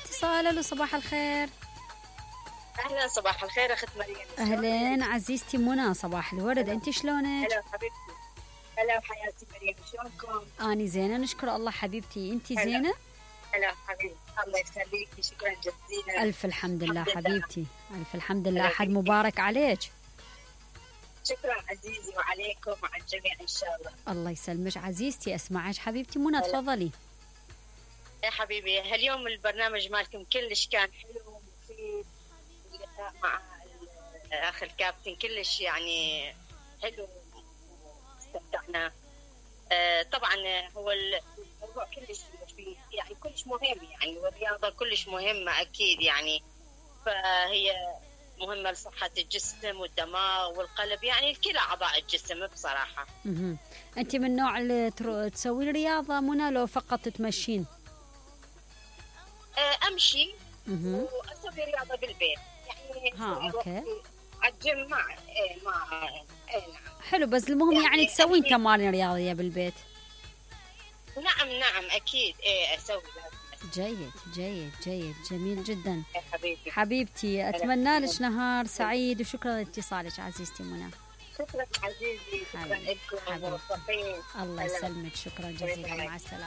اتصال. الو صباح الخير. اهلا صباح الخير اخت مريم. اهلين عزيزتي منى، صباح الورد. انت شلونك؟ هلا حبيبتي. هلا حياتي مريم، شلونكم؟ اني زينه نشكر الله حبيبتي. انت زينه؟ هلا حبيبتي، الله يخليكي، شكرا جزيلا. الف الحمد لله حبيبتي، الف الحمد لله. احد مبارك عليك. شكرا عزيزي، وعليكم وعلى الجميع ان شاء الله. الله يسلمك عزيزتي. اسمعك حبيبتي منى، تفضلي. يا حبيبي، هاليوم البرنامج مالكم كلش كان حلو ومفيد، اللقاء مع الاخ الكابتن كلش يعني حلو، استمتعنا. طبعا هو الموضوع كلش مفيد، يعني كلش مهم، يعني والرياضه كلش مهمه اكيد يعني، فهي مهمه لصحه الجسم والدماغ والقلب، يعني لكلا اعضاء الجسم بصراحه. انت من النوع اللي تسوي رياضه منى لو فقط تمشين؟ امشي واسوي رياضه بالبيت يعني. اوكي. الجيم نعم. حلو، بس المهم يعني تسوين تمارين رياضيه بالبيت. نعم اكيد اسوي. جيد جيد جيد، جميل جدا. حبيبتي حبيبتي، اتمنى لك نهار سعيد، وشكرا لاتصالك عزيزتي منى. شكرا عزيزي، شكرا لكم، موفقين. الله يسلمك، شكرا جزيلا، مع السلامه.